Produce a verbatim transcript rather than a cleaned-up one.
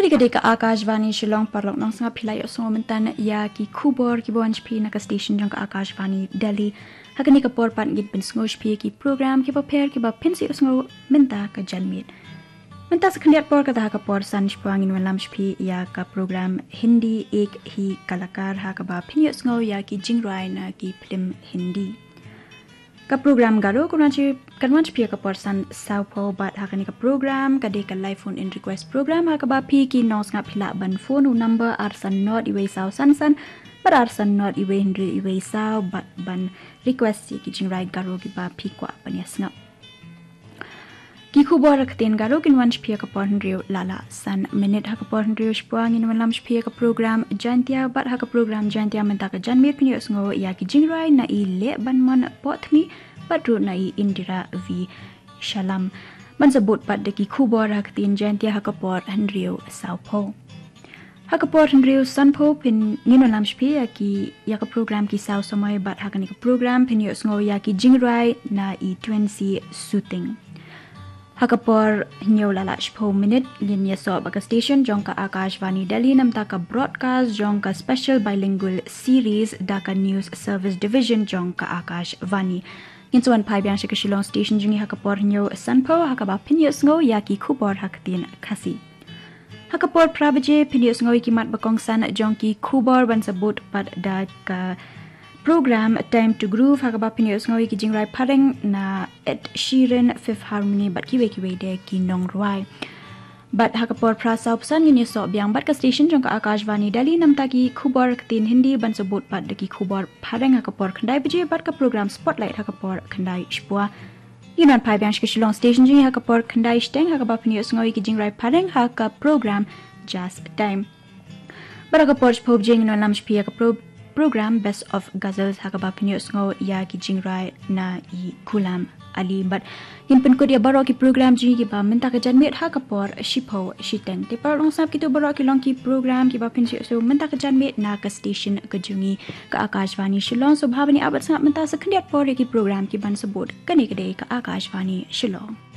Kane ka dei ka Akashvani Shillong. Paralok nongsngap, phi la ïohsngew mynta ïa ki khubor kiba wan sha phi na ka station jong ka Akashvani Delhi. Ha kane ka por pat ngin pynsngew sha phi ki program kiba pher kiba phin sa ïohsngew mynta ka janmiet. Mynta sa khyndiat por kata ha ka por san shapoh ngin wallam sha phi ïa ka program Hindi Ek Hi Kalakar ha kaba phin ïohsngew ïa ki jingrwai na ki phlim Hindi. Ka program Garo kan wan sha phi ha ka por san sawphew, bad ha kane ka program ka dei ka live phone in request program ha kaba phi ki nongsngap phi lah ban phone u number ar san nod iwei saw san san bad ar san nod iwei hynriew iwei saw bad ban request ïa ki jingrwai Garo kiba phi kwah ban ïasngap. Ki khubor ha ka ktien Garo kin wan sha phi ha ka por hynriew la la san minit. Ha ka por hynriew shapoh ngin wallam sha phi ïa ka program Jaintia, bad ha ka program Jaintia mynta ka janmiet phin ïohsngew ïa ki jingrwai na i Lehbanmon Pohtni bad ruh na i Indira V Shyam. Ban sa bud pat da ki khubor ha ka ktien Jaintia ha ka por hynriew sawphew. Ha ka por hynriew sanphew phin, ngin wallam sha phi ïa ki, ïa ka program Ki Saw Samoi, bad ha kane ka program phin ïohsngew ïa ki jingrwai na i Twensi Suting. Ha ka por hynñiew la la shiphew minit ngin ïasoh bad ka station jong ka Akashvani Delhi namar ka broadcast jong ka special bilingual series da ka News Service Division jong ka Akashvani. Ngin sa wan phai biang sha ka Shillong station jong ngi ha ka por hynñiew sanphew ha kaba phin ïohsngew ïa ki khubor ha ka ktien Khasi. Ha ka por phra baje phin ïohsngew ïa ki mat ba kongsan jong ki khubor ban sa bud pat da ka program Time to Groove ha kaba phin ïohsngew ïa ki jingrwai phareng na Ed Sheeran, Fifth Harmony bad kiwei kiwei de ki nongrwai. Bad ha ka por phra saw phew san ngin ïasoh biang bad ka station jong ka Akashvani Delhi namar ki khubor ktien Hindi ban sa bud pat da ki khubor phareng ha ka por khyndai baje bad ka program Spotlight ha ka por khyndai shapoh. Ngin wan phai biang sha ka Shillong station jong ngi ha ka por khyndai shiteng ha kaba phin ïohsngew ïa ki jingrwai phareng ha ka program Jazz Time. Bad ha ka por shiphew baje ngin wallam sha phi ïa ka pro-, program Best of Ghazals ha kaba phin ïohsngew ïa ki jingrwai na i Ghulam Ali. Bad ngin pynkut ïa baroh ki program jong ngi kiba mynta ka janmiet ha ka por shiphew shiteng. Te paralok nongsngap, kito baroh ki long ki program kiba phin sa ïohsngew mynta ka janmiet na ka station ka jong ngi ka Akashvani Shillong. Sngewbha ban ïa bud sngap mynta sa khyndiat por ïa ki program kiban sa bud. Kane ka dei ka Akashvani Shillong.